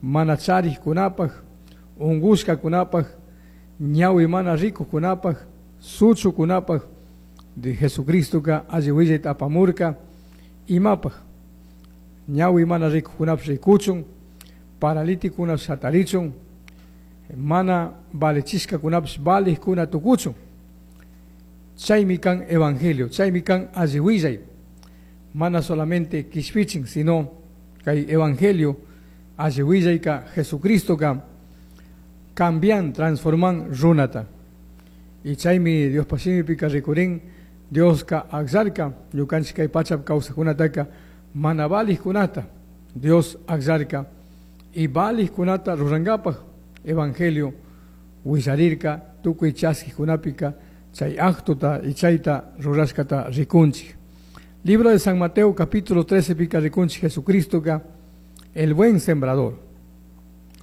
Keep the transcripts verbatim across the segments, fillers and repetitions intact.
mana charijkunapaj, ungushkakunapaj, ñawi mana rikujkunapaj, suchukunapaj de Jesucristoka alli willayta apamurka imapaj ñawi mana rikujkunapish rikuchun, paralíticokunapish hatarichun, mana valechishkakunapish valijkuna tukuchun. Chaymi kan evangelio, chaymi kan alli willay, mana solamente kishpichin, sino kay evangelio alli willayka Jesucristoka cambian, transforman runata. Y chaymi Diospaj shimipika rikurin, Dioska akllarka, ñukanchik kay pachapi kawsajkunataka mana valijkunata Dios akllarka y valijkunata rurankapaj evangelio willarirka tukuy chaskijkunapika chay actota y chayta rurashkata rikunchik. Libro de San Mateo capítulo trece pika rikunchik Jesucristoka el buen sembrador.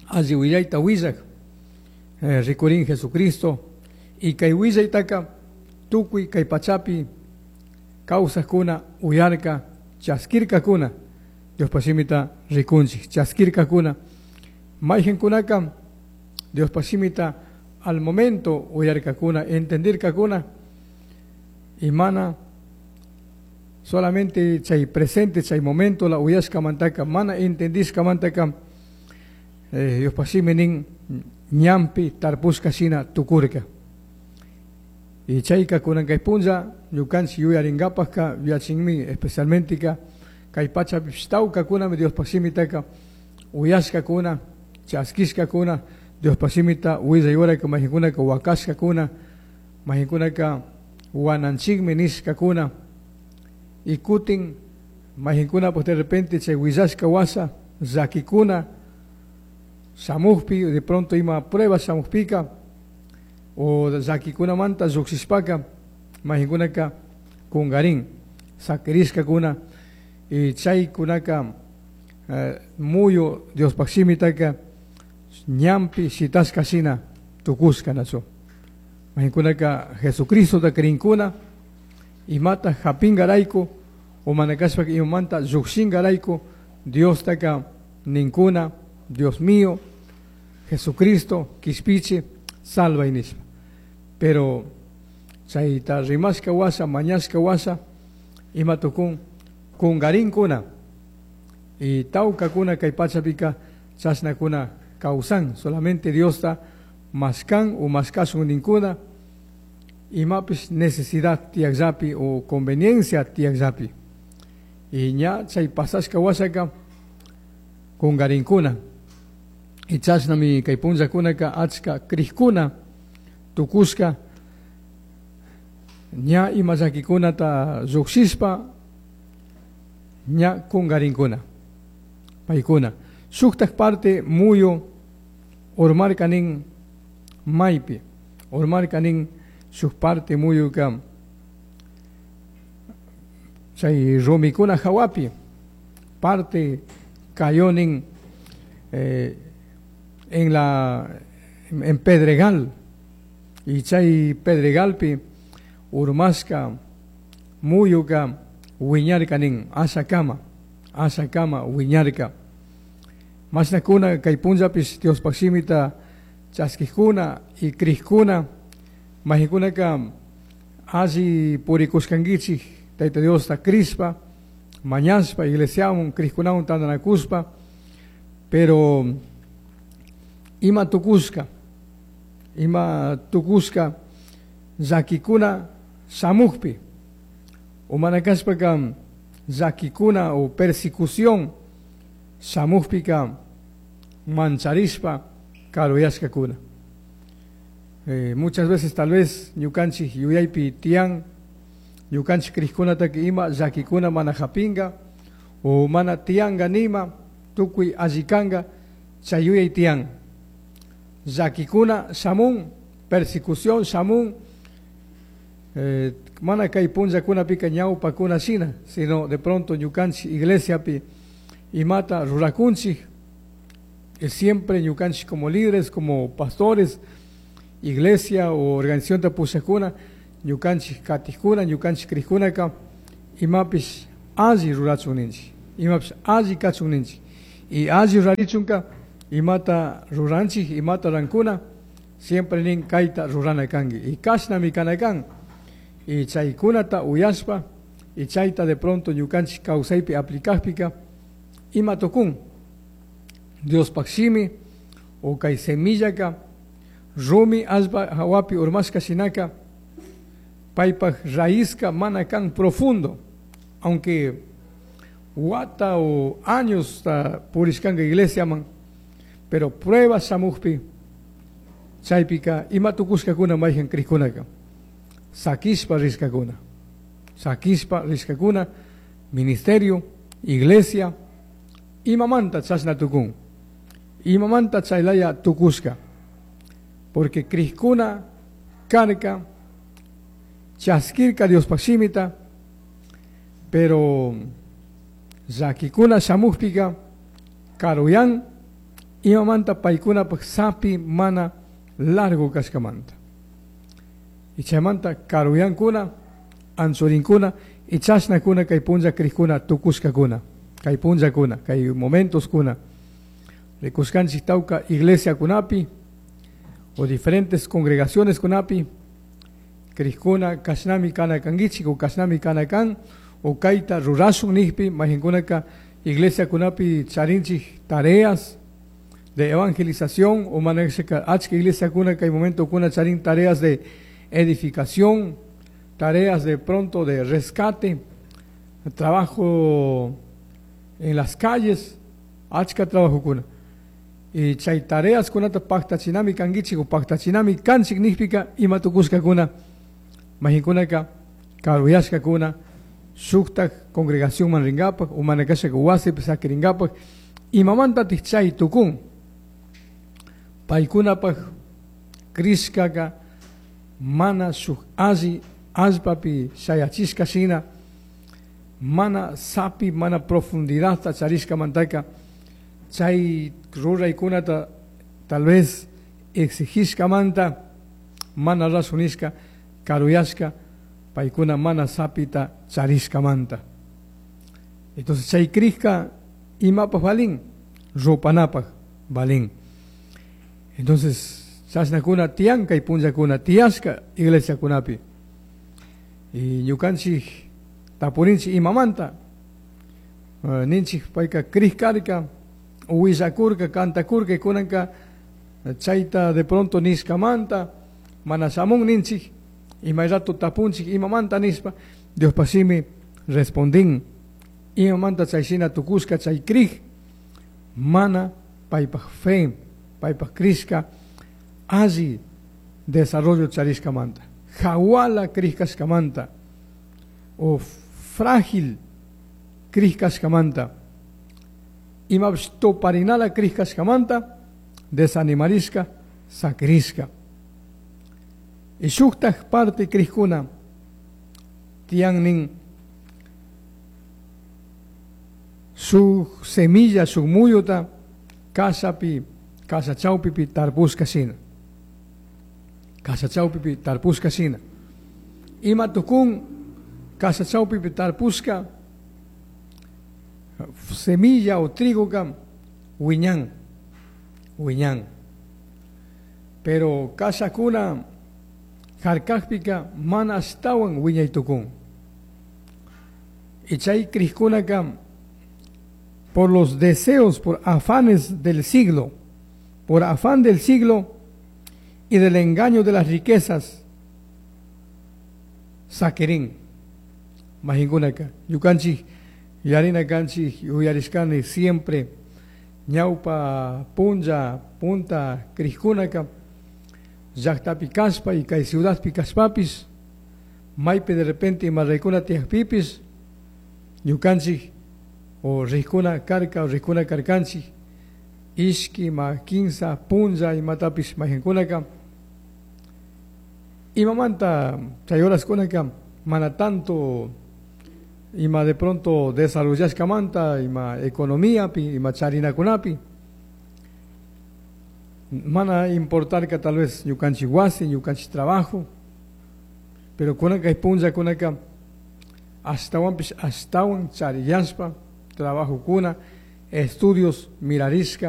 Alli willayta willaj, eh, rikurin Jesucristo y kay willaytaka tukuy kay pachapi kawsajkuna uyarka chaskirkakuna Diospaj shimita rikunchik chaskirkakuna mayqinkunaka Diospaj shimita al momento uyarkakuna entendirkakuna y mana solamente chay presente chay momento la uyashkamantaka mana entendishkamantaka eh, Diospaj shimi nin ñampi tarpushka shina tukurka. Y chayka kunan kay punlla ñukanchik yuyarinkapajka yuyachinmi especialmente ka kay pachapipish tawkakunami Diospaj shimitaka uyashkakuna chaskishkakuna Diospaj shimita willay uraka mayqinkunaka wakashkakuna mayqinkunaka wananchikmi nishkakuna y kutin mayqinkuna pues de repente chay willashka wasa llakikuna shamukpi de pronto ima prueba shamukpika o llakikunamanta llukshishpaka mayqinkunaka kungarin sakirishkakuna y chaykunaka eh, muyu Diospaj shimitaka ñampi shitashka shina tukushka nachu mayqinkunaka Jesucristota krinkuna imata hapinkarayku o mana kashpaka imamanta llukshinkarayku Diostaka ninkuna Dios mío Jesucristo kishpichi salvay nishpa. Pero chayta rimashka washa mañashka washa ima tukun kunkarinkuna y tawkakuna kay pachapika chashnakuna kawsan solamente Diosta mashkan o mashkashun ninkuna imapish necesidad tiyakllapi o conveniencia tiyakllapi y ña chay pasashka washaka kunkarinkuna y chashnami kay punllakunaka achka krikuna tukushka ña ima llakikunata llukshishpa ña kunkarinkuna paykuna shuktak parte muyu urmarka nin maypi urmarka nin shuk parte muyuka chay rumikuna hawapi parte cayó nin eh, en la en Pedregal y chay Pedregalpi urmashka muyuka wiñarka nin ashakama ashakama wiñarka mashnakuna kay punllapish Diospaj shimita chaskijkuna y krijkuna mayqinkunaka alli purikushkankichik Tayta Diosta krishpa mañashpa iglesiawan krijkunawan tantanakushpa pero ima tukushka ima tukushka llakikuna shamukpi o mana kashpaka llakikuna o persecución shamukpika mancharishpa karuyashkakuna. Eh, muchas veces tal vez ñukanchik yuyaypi tiyan ñukanchik krijkunataka ima llakikuna mana hapinka o mana tiyanka nima tukuy alli kanka chay yuyay tiyan llakikuna shamun persecución shamun eh, mana kay punllakunapika ñawpakuna shina sino de pronto ñukanchik iglesiapi imata rurakunchik y siempre ñukanchik como líderes, como pastores, iglesia o organización pushakuna ñukanchik katijkuna ñukanchik krijkunaka imapish alli rurachun ninchik imapish alli kachun ninchik y alli rurarichunka Imata ruranchik, imata rurankuna, siempre nin kayta rurana kanki. Y kashnami kana kan. Y chaykunata uyashpa, y chayta de pronto ñukanchik kawsaypi aplicajpika, ima tukun. Diospaj shimi, o kay semillaka, rumi allpa hawapi urmashka shinaka, paypaj raizka mana kan profundo, aunque wata o años ta purishkanka iglesiaman, pero prueba shamujpi, chaypika ima tukushkakuna mayjan crijkunaka, sakishpa rishkakuna, sakishpa rishkakuna, ministerio, iglesia, imamanta chashna tukun, imamanta chaylaya tukushka, porque crijkuna karka, chaskirka Diospaj shimita, pero llakikuna shamujpika, karuyan, imamanta paykunapaj sapi mana largo kashkamanta. Y chaymanta karuyankuna, anchurinkuna, y chashnakuna kay punlla crijkuna tukushkakuna, kay punllakuna, kay momentoskuna. Rikushkanchik tawka iglesiakunapi, o diferentes congregaciones kunapi, crijkuna kashnami kana kankichik o kashnami kana kan, o kayta rurashun nijpi, mayqinkunaka iglesiakunapi charinchik tareas de evangelización, o manashka achka iglesiakuna kay momentokuna charin tareas de edificación, tareas de pronto de rescate, trabajo en las calles, achka trabajokuna. Y chay tareas kunata paktachinami kankichik o paktachinami kanchik nijpika ima tukushkakuna, mayqinkunaka karuyashkakuna, shuktak congregación man rinkapak, o manakashaka wasipi sakirinkapak, imamantatik chay tukun. Paykunapaj crishkaka mana shuk alli allpapi shayachishka shina, mana sapi, mana profundidadta charishkamantaka, chay ruraykunata tal vez exigishkamanta mana rasunishka, karuyashka, paykuna mana sapita charishkamanta. Entonces chay crishka imapaj valin, rupanapaj valin. Entonces chashnakuna tiyan kay punllakuna tiyashka iglesiakunapi. Y ñukanchik tapurinchik imamanta, uh, ninchik payka crishkarka, willakurka, kantakurka, kunanka chayta de pronto nishkamanta, mana shamun ninchik, imay rato tapunchik imamanta nishpa, Diospaj shimi respondin, imamanta chayshina tukushka chay crij, mana paypaj fe, paypaj crishka, alli desarrollo charishkamanta, jawala crishkashkamanta, o frágil crishkashkamanta, imapish tuparinala crishkashkamanta, desanimarishka, sakrishka. Y shuktaj parte crijkuna, tiyan nin shuk semilla, shuk muyuta, kashapi, kasha chawpipi tarpushka shina. Kasha chawpipi tarpushka shina. Ima tukun kasha chawpipi tarpushka semilla o trigo kam wiñan, wiñan. Pero kashakuna harkajpika mana ashtawan wiñay tukun. Y chay crishkunaka por los deseos, por afanes del siglo, por afán del siglo y del engaño de las riquezas, sakirin. Mayqinkunaka, ñukanchik, yarina kanchik, yuyarishkani siempre, ñawpa, punlla, punta, crishkunaka, llaqtapi kashpa y kay ciudadpi kashpapis, maypi de repente ima raykuna tiyakpipis, ñukanchik, o rijkuna karka, o rijkuna karkanchik, ishki, ma kinsa, punlla, imatapis mayqinkunaka, imamanta chay horaskunaka, mana tanto ima de pronto desarrollashkamanta, ima economiapi, ima charinakunapi, mana importarka tal vez ñukanchik wasi, ñukanchik trabajo, pero kunaka punllakunaka ashtawanpish ashtawan chariyashpa trabajokuna, estudios mirarishka,